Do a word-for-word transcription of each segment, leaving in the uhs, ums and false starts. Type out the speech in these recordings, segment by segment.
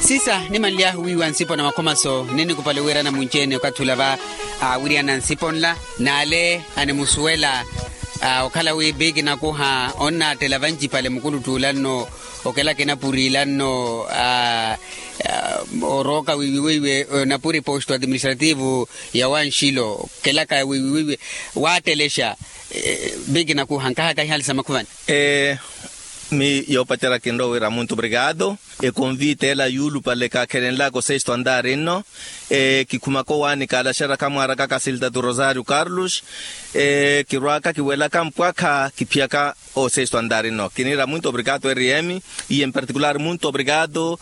Sisa nimanly'ahu wiiwa nsipo na makhomaso ninnikupale wiirana munci-ene okathi ula va aawiriyana nsipo nla n'ale animusuwela. Okhala wi biki nakuha onnaattela vancipale mukuluttuula nno okelaka enapuri ila nno orooka wiiwiweiwe enapuri posto administrativo ya wanxilo okelaka wiiwiweiwe waattelexa. Biki nakuha nkahaka ihali sa makhuvani. Miyo yoopacerya kinrowa wira muntu obrigado. Ekonvita ela yuulupale kaakhelenlaka osesto andaari nno. Kikhumaka owaani kaalaxeraka mwaaraka kasilta tu rosario carlos. Kirwaaka kiwelaka mpwakha kiphiyaka osesto andaari nno kiniira muntu obrigado rm. Iye mparticular muntu obrigado.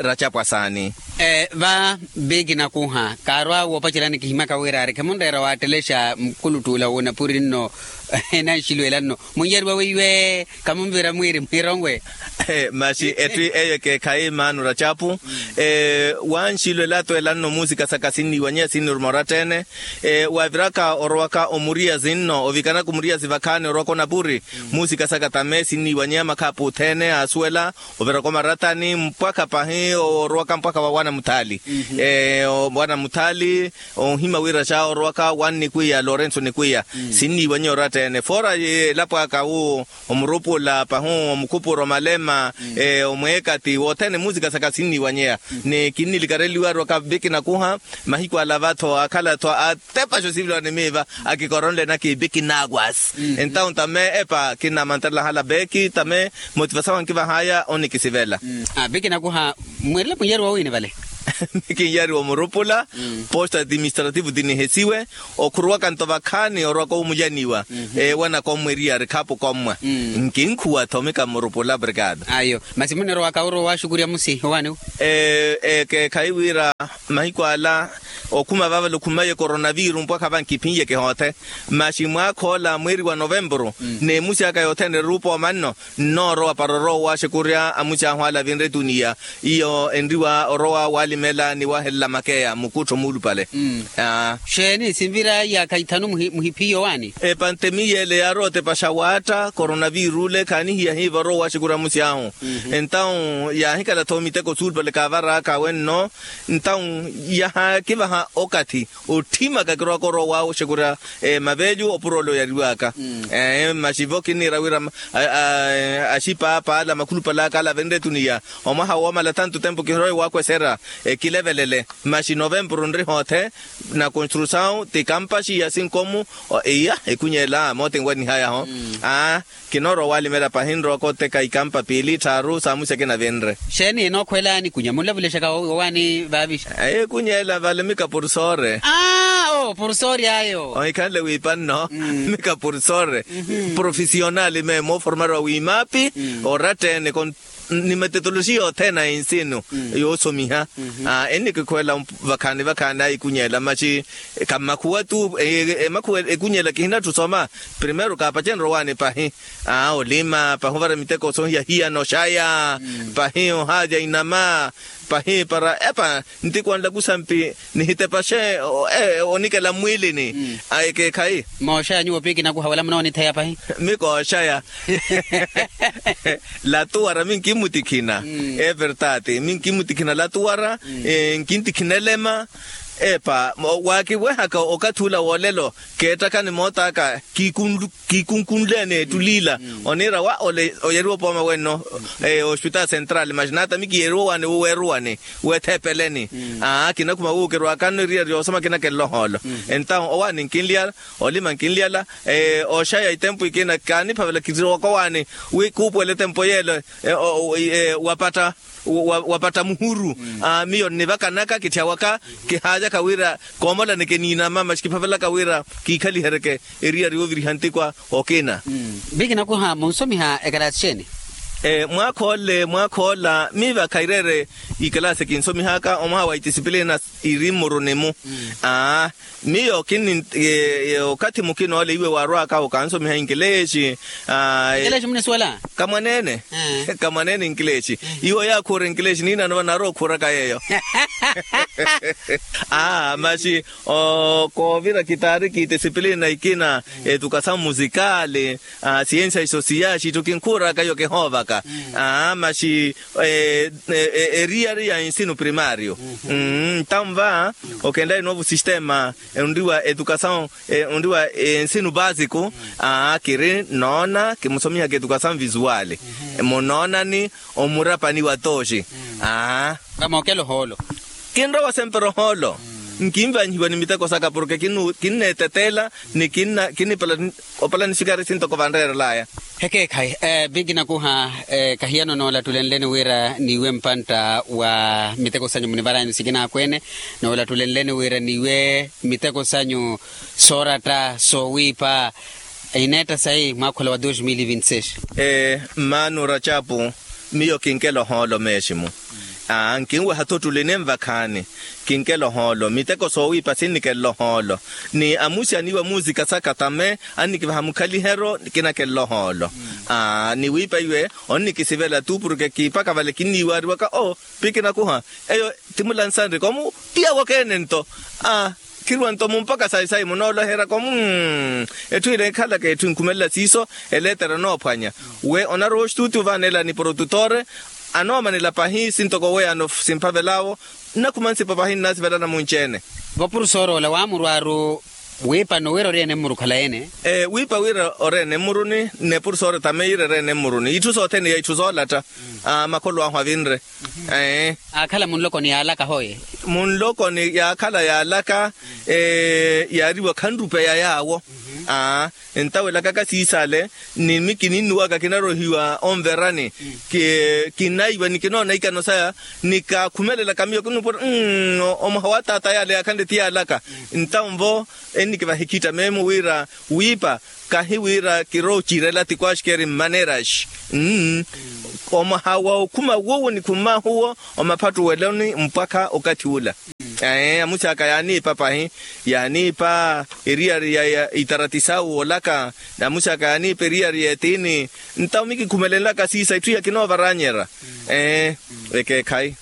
Racapu asaani. Va biki nakuha kaarwa woopaceryani kihimyaka wira ari khamunreera waattelexa mukuluttuula w'onapuri nno. Enanxilwela nno munnyariwa weiwe. Khamunvira mwiiri mwironwe. Maxi etthu eyo ekeekhayi maanu racapu. Wanxilwela atweela nno muusika saka sinniiwanyeya sinniruma oratteene. Waaviraka orowaka omuriyazi nno ovikanaka omuriyazi vakhaani orowaka onapuri muusika saka tame sinniiwanyeya makhaapu othene aasuwela. Oviraka omarattani mpwakha pahi orowaka mpwakha wa wana muthaali. Wana muthaali. Onhima wira xa orowaka wa nnikwiya lorenso nikwiya. Sinniiwanyeya oratta-ene foora elapo aka wu omurupula pahu omukhupuro malema. Omweekati wothene muusika saka sinniiwanyeya. Ni kinnilikareliwa ariwaka biki nakuha mahiku ala vatho akhala-tho atepaxa osiviliwa ni miiva akikoronle naki biki nakwasi. Entawu ntame epa kinnamantarela hala beki tame motivasawu ankivahaya onikisivela. Biki nakuha mweerele munnyariwa wiini vale. Kinnyariwa omurupula posto administrativo tinihesiwe. Okhuruwaka nto vakhaani orowaka omulyaniwa. Ewanaka ommwa eriyari khaapu kommwa nkinkhuwa-tho mika mmurupula obrigado. Ayo masi munirowaka orowa waaxukurya musi owaani wu. Ekeekhayi wira mahiku ala okhuma vavale okhumaye coronaviru mpwakha vankiphin'ye kihoothe. Maxi mwaakha ola mweeri wa novempuru n'emusi aka yothene eruupa omanno. Nnoorowa para orowa owaaxekurya amusi ahu ala avinre etuniya. Iyo enriwa orowa waalimela ni wahelela makeya mukuttho muulupale. Xeeni sinvira yaakha ithanu muhiphiye owaani. Epantemiya ele yaarowa otepaxa waatta coronaviru ole khaanihiya hiiva orowa owaaxekurya amusi ahu. Entawu yaahikala-tho miteko suulupale kaavaraaka awe nno. Entawu yahaakivaha okathi otthimaka kirowaka orowa waaxekurya mavelyu opuro ole oyariwaka. Maxi vo kinniira wira axipaapa ala makhulupale aka ala avenre etuniya omwaha woomala tanto tempo kinrowa ewaakwesera. Ekilevelele maxi novempuru nri hoothe. Na construsawu ti kampaxi ya sinkomu. Iya ekunyeela mooti enwanihayaho. Kinoorowa owalimela pahi nrowa kooteka ikampa piili tthaaru saamusi akina vinre. Xeeni enookhwela nikunya munlavulexaka owaani vaavixa? Ekunyeela vale mika porsoore. Aa oo porsoore ayo. Ohikhanle wiipa nno mika porsoore. Profesionali meeyo mooformariwa wiimaapi oratta-ene. Ni metotoloxiya othene a ensinu yoosomiha. Ennikikhwela vakhaani vakhaani ayikunyeela maxi kammakhuwa-tu. Emakhuwa ekunyeela kihinatthu soma. Primeiro kaapacenrye owaani pahi. Olima pahi ovara miteko sohiya hiyana oxaya. Pahi ohaalya inama. Pahi para epa ntikwanla kusampi nihitepaxe onikela mmwiilini. Ekeekhayi. Mooxaya nyuwo piiki nakuha wala munoonitheya pahi. Mikooxaya. Latuwara minkimmutikhina. Evertati minkimmutikhina latuwara. Nkintikhina elema. Epa waakiwehaka okathi ula woolelo keettakani moot'aka kiikunleene ettulila. Oniira wa ole oyeriwa opooma wenno. Ospitaali central maxi naata mikiyeriwa owaani wuweeruwani weetheepeleni. Kinakhuma wuukeriwaka nno eriyari yoosoma kinakelela ohoolo. Entawu owaani nkinlyala olima nkinlyala. Oxaya itempu ikina kaaniphavela kitthiwaka owaani wi kuupuwela etempu yeelo. Wapatta wapatta muhuru. Miyo nnivakanaka kitthya waka kihaalyaka wira koomolani kiniinama maxi kiphavelaka wira kiikhaliheryeke eriyari yooviriha ntikwa. Okina. Vikinakuha munsomiha ekalaasi xeeni? Mwaakha ole mwaakha ola miiva khaireere ikalaasi kinsomihaka omwaha wa itisipilina iri mmuruni-mu. Miyo kinni okathi mukina ole iwe waarwaaka okansomiha inkileexi. Inkileexi munisuwela? Kamwaneene. Kamwaneene inkileexi. Iwe oyaakhuura inkileexi niinano vanaarowa okhuuraka yeeyo. Aa maxi koovira kitaari kitisipilina ikina etukasamu musikaali. Siyensia isosiyaxi itthu kinkhuuraka iyo kihoovaka. Aa maxi eriyari ya ensino primario. Ntanva okenlayi novo sistema onriwa edukasaw onriwa ensino basico. Aa kiri noona kimusomihaka edukasaw visuali munoonani omurapani wa tooxi. Aa vamookela ohoolo. Kinrowa sempera ohoolo nkinvanyihiwa ni miteko saka porke kinneetetela ni kinipala opala ni sikari sintoko vanreerelaya. Hekeekhayi. Biki nakuha kahiyano noolatulenleni wira niiwe mpantta wa miteko sanyu munivaranyani sikinakweene noolatulenleni wira niiwe miteko sanyu sooratta soowiipa. Ineetta sayi mwakhola wa dos mil vinti seis. Mmaano racapu miyo kinkela ohoolo meeximu. Nkinweha-tho ottuli ninvakhaani kinkela ohoolo miteko soowiipa sinnikella ohoolo ni amusi aniiwa muusika saka tame annikivaha mukhaliheryo kinakella ohoolo. Ni wiipa iwe onnikisivela tu porke kiipaka vale kinniiwaariwaka oo pikinakuha eyo ti mulansanrika omu ti yawokeene nto. Khirwa nto mumpaka sayi sayi munooloherya komu etthu ile ekhalaka etthu enkhumelela siiso eleetera onoophwanya we onarowa ostutu vaneela ni porotutore anoomanela pahi sintoko weya anofu simphavelaawo. Nnakhuma nsipo pahi nnaasivelana munci-ene. Vapurusooro ola waamurwaaru wiipa nowira ori ene mmuru khala ene. Wiipa wira ori ene mmuruni nnepurusooro tame yira eri ene mmuruni itthu sothene ya itthu zoolatta. Makholo ahu avinre. Aakhala munlokoni yaalaka hoye. Munlokoni yaakhala yaalaka yaariwa khanrupeya yaawo. Ntawelakaka siisale ni mikininnuwaka kinarohiwa onverani kinaiwa ni kinoona ikano saya ni kaakhumelelaka miyo kinupura omwaha wa taata yaale yaakhanle ti yaalaka. Ntanvo ennikivaha ekhitta meemo wira wiipa kahi wira kiroocirela ti kwaxikeri mmaneraxi. Omwaha wa okhuma wuwo nikhumahuwo omaphattuweloni mpwakha okathi ula. Amusi aka yaaniipa pahi yaaniipa eriyari ya itarati sawu woolaka. Amusi aka yaaniipa eriyari ya etiini ntawo mikikhumelenlaka siisa itthu iya kinoovaranyerya. Ekeekhayi.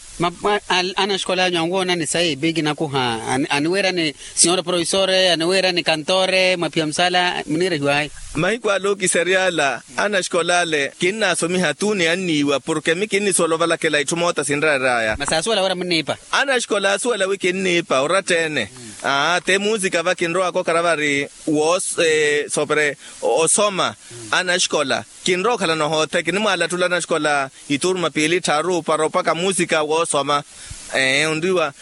Anaxikola anyu anwoonani sayi biki nakuha aniweerani sinyora profesore aniweerani kantore mwaphiya musala muniirehiwayi. Mahiku ale okisery'ala anaxikola ale kinnaasomiha tu ni anniiwa porke mi kinnisuwela ovalakela itthu moota sinreer'aya. Masi aasuwela wira munniipa. Anaxikola aasuwela wi kinniipa oratta-ene. Aa te muusika va kinrowaka okhala vari woosoopere osoma anaxikola kinrowa okhalana ohoothe kinimwaalattula anaxikola ituruma piili tthaaru para opaka muusika woosoma. Onriwa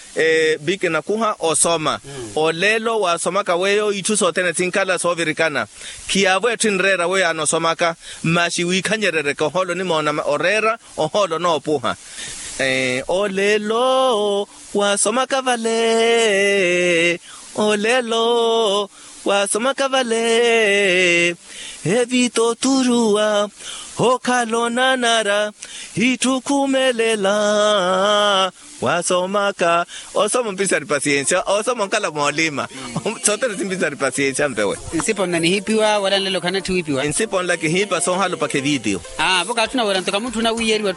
biki nakuha osoma oleelo waasomaka weyo itthu sothene sinkhala soovirikana. Khiyaavo etthu enreera weyo anosomaka masi wiikhanyereryeke ohoolo onimoona oreera ohoolo onoopuha. Oleelo waasomaka vale oleelo waasomaka vale evita oturuwa okhala onanara itthu khumelela. Waasomaka osoma ompisari pasiensia osoma onkala moolima. Sothene simpisari pasiensia mpewe. Nsipo nla nihiipiwa wala nlelo khanatthi wiipiwa. Nsipo nla kihiipa soohalopakha evitiyo. Aa vo kaatthuna wira nto kamutthuna wiiyeriwa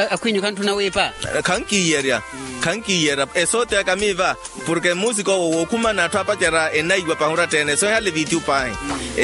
akhwinyu khanttuna wiipa. Khankiiyerya khankiiyerya esoote aka miiva porke mmuusika owo wookhuma n'atthu apacerya enaiwa pahi oratta-ene soohihale evitiyo pahi.